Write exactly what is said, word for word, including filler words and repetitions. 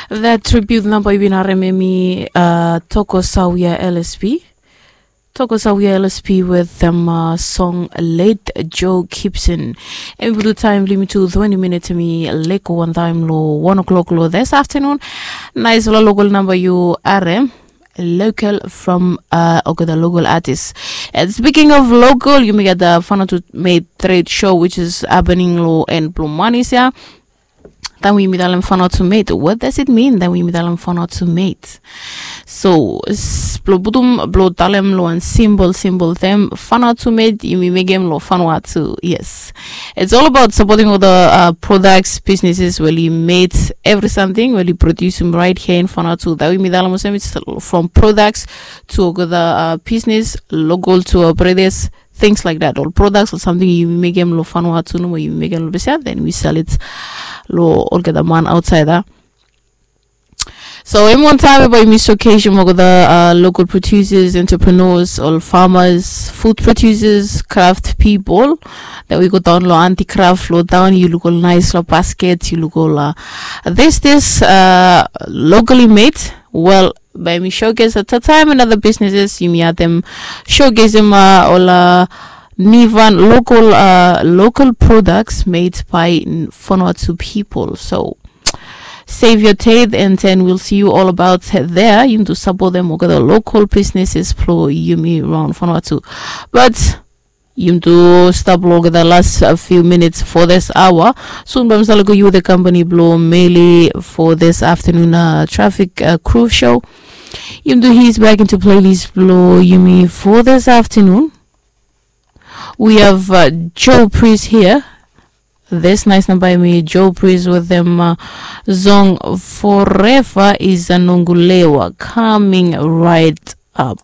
That tribute namba yu bin harem hemi uh, Toko Sawia L S P. Toko Sawia L S P with them uh, song Late Joe Gibson. Hemi bulu taem blong yumi tu twenty minutes hemi leko wan taem lo one o'clock lo this afternoon. Nice lo local namba yu harem. Local from uh, okay, the local artist. And speaking of local, yumi gat the Fano to Made trade show which is happening lo en blong manis ya. Taem we yumi talem Fano to Made, what does it mean taem we yumi talem Fano to Made? So blong putum blong talem lo wan simple simple term, Fano to Made yumi mekem lo Fano to, yes. It's all about supporting all the uh, products, businesses where you made every something where you produce them right here in Fano to. That we yumi talem olsem it's from products to all the uh, business, local to our brothers, things like that. All products or something you make them lo Fano to no more you make them lo besia, then we sell it lo olgeta man outside. So in one time about mi showcase mo the uh, local producers, entrepreneurs, all farmers, food producers, craft people. Then we go down lo anti craft lo down. You look all nice lo basket. You look all uh, this this uh, locally made. Well, by mi showcase at a time and other businesses yumi atem showcase him uh, all uh, Nivan local uh, local products made by Vanuatu people. So save your teeth and then we'll see you all about there. You need to support them with the local businesses pro yumi around Vanuatu. But you need to stop long the last uh, few minutes for this hour. Soon bamsala go you the company blow mainly for this afternoon uh, traffic uh, crew show. You need to ease back into playlist blow yumi for this afternoon. We have uh, Joe Priest here. This nice number me Joe Priest with them uh, song Forever is a Nongulewa coming right up.